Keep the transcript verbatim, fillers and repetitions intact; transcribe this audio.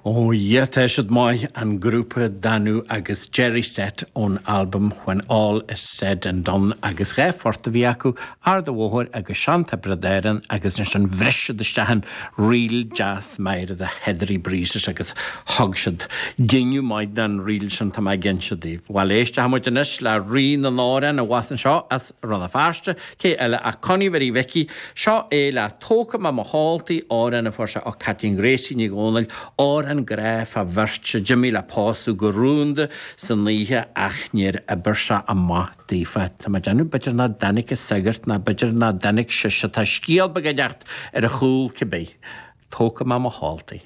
Ó yeah, tá siad maith an grúpa Danú agus Jerry Set ón albam When All Is Said and Done agus dhá phort a bhí acu Ard an Bhóthair agus Sean Tiobraid Árann agus ansin bhris siad isteach in ríl deas Máire the Heathery Breezes agus thug siad dingeadh maith don ríl sin tá mé ag inse daoibh. Bhuel éistfidh muid anois le rí na n-amhrán a bhas anseo as Rann na Feirste, cé eile ach Connie Mhary Mhicí, seo é le Tógfaidh mé mo sholtaí amhrán a fuair sé ó Caitlín Gracie Ní Dhomhnaill, amhrán grá fá bheirt a d'imigh le pósadh go rúnda san oíche ach níor oibir sé amach daofa. Tá mé ag déanamh b'fhéidir nach dtáinig an sagart ná b'fhéidir nach dtáinig sise tá scéal beag ag teacht ar a chúl cibé. Tógfaidh mé mo sholtaí.